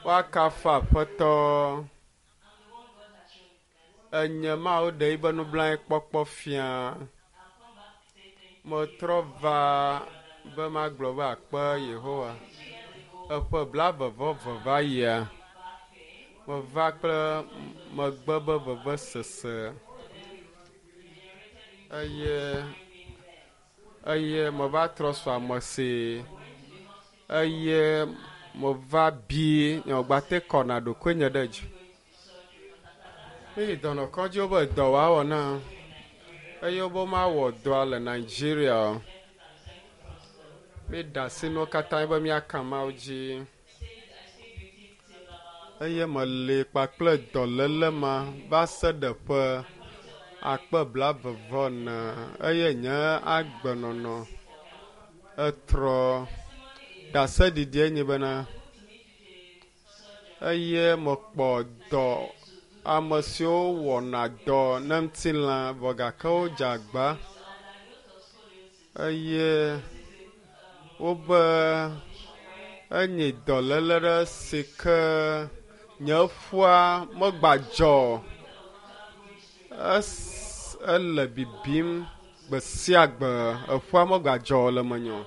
Woakafu Aƒetɔ. Enye Mawu ɖe yibe nublanuikpɔkpɔ fia. Metrɔ va be magblɔ be akpe Yehowa. Eƒe blaeve-vɔ-eve va yia, meva kple megbe be vevesese eye eye meva trɔ su ame si eye meva bi nye megbate kɔna ɖokuinye ɖe dzi. Míyi dɔnɔkɔdzi wobe dɔ woawɔ na eye wobe mawɔ dɔa le Nigeria o. Míɖe asi nuwo katã be míaka Mawu dzi. Eye meli kpakple dɔléle ma va se ɖe ƒe akpe blaeve-vɔ-ene eye nye agbenɔnɔ etrɔ. Ɖaseɖiɖie nye bena eye mekpɔ dɔ ame siwo wɔna dɔ ne ŋutilã vɔ gake wodze agba eye wobe enyi dɔléle ɖe si ke nye ƒua megbadzɔ es ele bibim gbe sia gbe eƒua megbadzɔ le menye o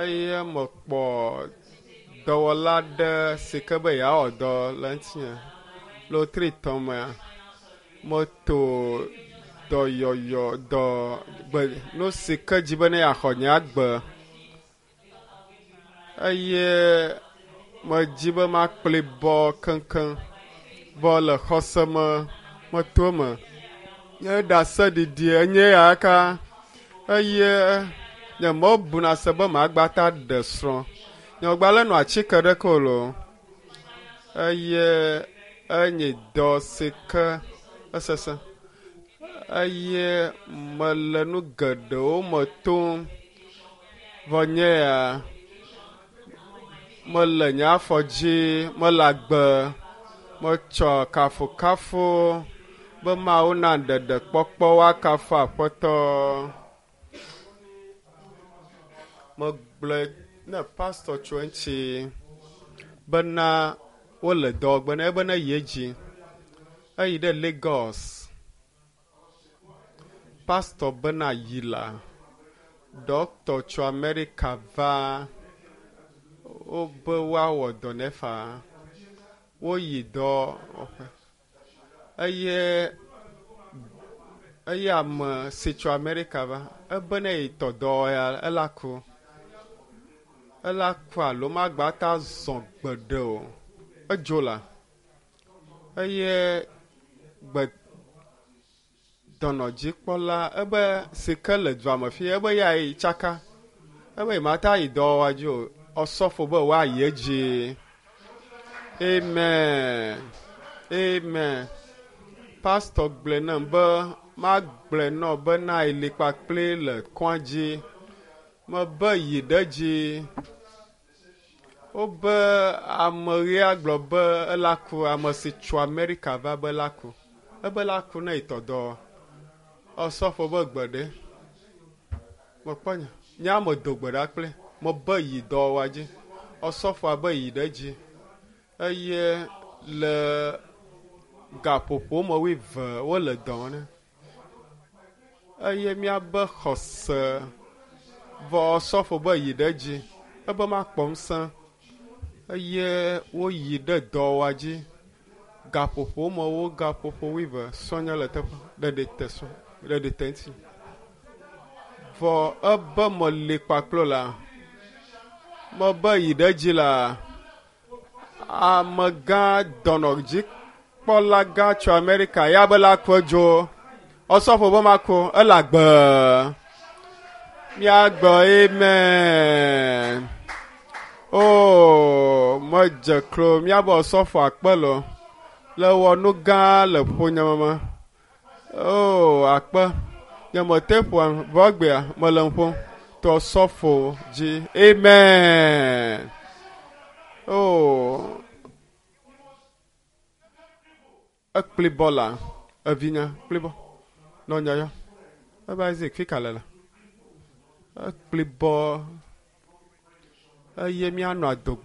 eye mekpɔ dɔwɔla aɖe si ke be yeawɔ dɔ le ŋutinye le wotri tɔ̃ mea meto dɔyɔyɔ dɔ gbe nu si ke dzi be ne yeaxɔ nye agbe eye medzi be makpli bɔ keŋkeŋ vɔ le xɔse me meto eme. Nye ɖaseɖiɖi enye ya ka eye nye mebuna se be magbata ɖe srɔ̃. Nye megbalẽ nɔ atike ɖeke o loo eye enye dɔ si ke esesẽ eye mele nu geɖewo me tom vɔ nye ya mele nye afɔ dzi, mele agbe, metsɔ kafukafu be Mawu na ɖeɖekpɔkpɔ woakafu Aƒetɔ. Megblɔe ne pastor tso eŋuti bena wole dɔ gbe ne ebe ne yi edzi. Eyi ɖe Lagos. Pastor bena yi la, ɖɔkta tso Amerika va wobe woawɔ dɔ nɛ faa. Woyi dɔwɔƒe eye eye ame si tso Amerika va ebe ne yi tɔ dɔ ya ela ku. Ela ku alo magba ta zɔ gbeɖe o. Edzo la eye gbe dɔnɔdzikpɔla ebe si ke le dua me fia ebe ya yi tsaka ebe yemate ayi dɔwɔwɔa dzi o. Ɔsɔfo be woayi edzi. Amen. Amen. Pastor gblɔe nam be magblɔe nɔ bena eli kpakple le kɔa dzi. Mebe yi ɖe dzi. Wobe ame ɣea gblɔ be ela ku ame si tso Amerika va be ela ku. Ebe la ku ne yitɔ dɔ. Ɔsɔfo be gbe ɖe. Mekpɔ nye. Nye ame do gbe ɖa kple. Mebe yi dɔwɔwɔa dzi. Ɔsɔfoa be yi ɖe dzi. Eye le gaƒoƒo me wuieve wole dɔ wɔm ne. Eye míabe xɔse vɔ ɔsɔfo be yi ɖe dzi. Ebe makpɔ ŋusẽ eye woyi ɖe dɔwɔwɔa dzi. Gaƒoƒo me wo gaƒoƒo wuieve sɔnye le teƒe ɖeɖi te sɔ ɖeɖi te ŋuti. Vɔ ebe meli kpakple la, mebe yi ɖe dzi la, amegã dɔnɔdzikpɔla gã tso Amerika ya be la ku edzo. Ɔsɔfo be maku ele agbe. Míagbe amen. Oh, medze klo míabe ɔsɔfo akpe lo le wɔ nu gã le ƒonye me. Oh, akpe. Nye mete ƒoa vɔ egbea mele nu ƒom to ɔsɔfo dzi. Amen. Oh. Ekpli bɔ la, evinya kpli bɔ. Nɔnya yɔ. Ebe Isaac fika le la. Ekpli bɔ eye míanɔ adogbe.